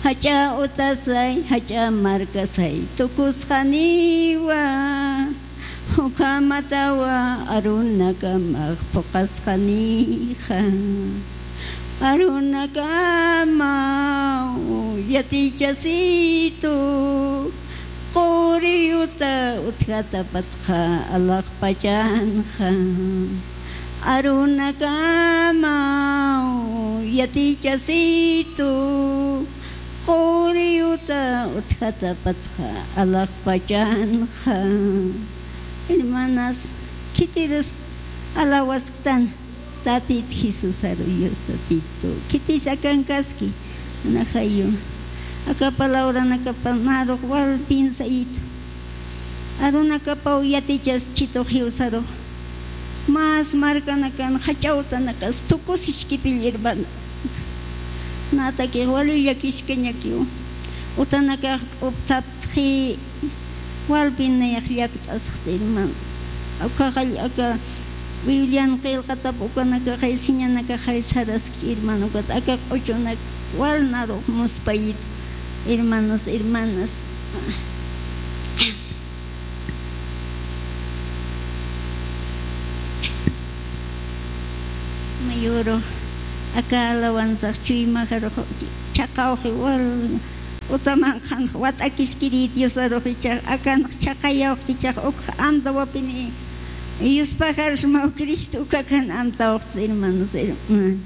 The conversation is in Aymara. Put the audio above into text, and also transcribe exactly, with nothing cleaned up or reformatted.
Jach'a utasay, jach'a markasay tukusxaniwa, ukhamatawa arunakamax phuqasxanixa. Arunakamaw yatichasitu, quriyuta utjatapatxa alaxpachanxa. Arunakamaw yatichasitu, quriyuta utjatapatxa alaxpachanxa. Hermanas, khitirus alawasktan Tatit Jesusaru, Dios Tatitu. Khitis akankaski, anajayu. Aka palabranakapa narux wal pinsayitu. Arunakapaw yatichaschitux jiwsarux. Mas markanakan jach'a utanakas tukusiskipill, hermana. Natakix wali llakiskañakiw. Utanakax k'uptaptxi, walpin nayax llakt'asxti, hermana. Ukaxall aka Biblian qillqatap ukanakaxay siñanakaxay saraski, hermana. Ukat aka q'uchunak wal narux muspayit, hermanos, hermanas. Mayuru, aka alawanzax chuymajarux chhaqawxi wal utamanqanx wat'akiskiri Diosarux ichax, akanx chhaqayawxti ichax ukx amtawapini yuspajarxmaw Cristo ukakan amtawxti, hermanos, hermanas.